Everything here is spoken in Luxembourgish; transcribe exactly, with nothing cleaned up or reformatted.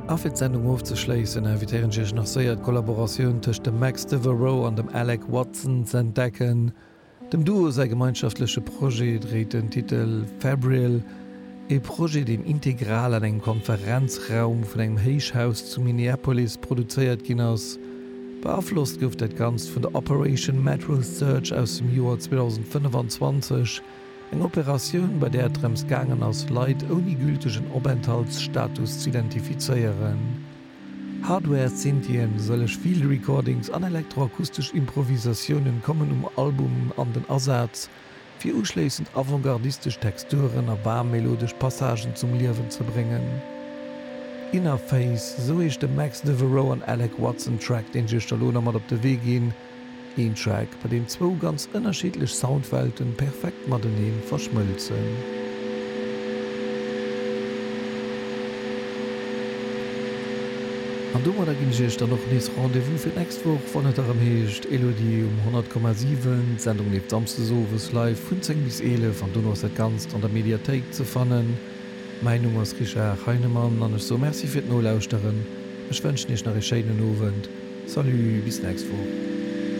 A fir d'Sendung ofzeschléissen, invitéieren ech iech nach séier d'Kollaboratioun tëscht dem Max Devereaux an dem Alec Watson z'entdecken. Dem Duo säi gemeinschaftleche Projet dréit den Titel Febrile, ee Projet, deen integral an engem Konferenzraum vun engem Héichhaus zu Minneapolis produzéiert ginn ass. Beaflosst gouf dat Ganzt vun der Operation Metro Surge aus dem Joer zweedausendfënnefanzwanzeg, eng Operatioun, bei där et drëms gaangen ass, Leit ouni gültegen Openthaltsstatus z'identifizéieren. Hardware-Synthien, sëlleg Field Recordings an elektroakustesch Improvisatiounen kommen um Album an den Asaz, fir uschléissend avantgardistesch Texturen a waarm melodesch Passagen zum Liewen ze bréngen. Inner Face, esou heescht de Max Devereaux an Alec Watson Track, deen ech iech da lo nach mat op de Wee ginn. Een Track, bei deem zwou ganz ënnerschiddlech Soundwelten perfekt matenee verschmëlzen. An domadder ginn ech iech dann och nees Rendez-vous fir d'nächst Woch, wann et erëm heescht Elodie um honnert Komma siwen. D'Sendung leeft samsdes owes live vun zéng bis eelef an dono ass dat Ganzt an der Mediathéik ze fannen. Mäin Numm ass Richard Heinemann an ech soe Merci fir d'Nolauschteren. Ech wënschen iech nach ee schéinen Owend. Salut, bis d'nächst Woch.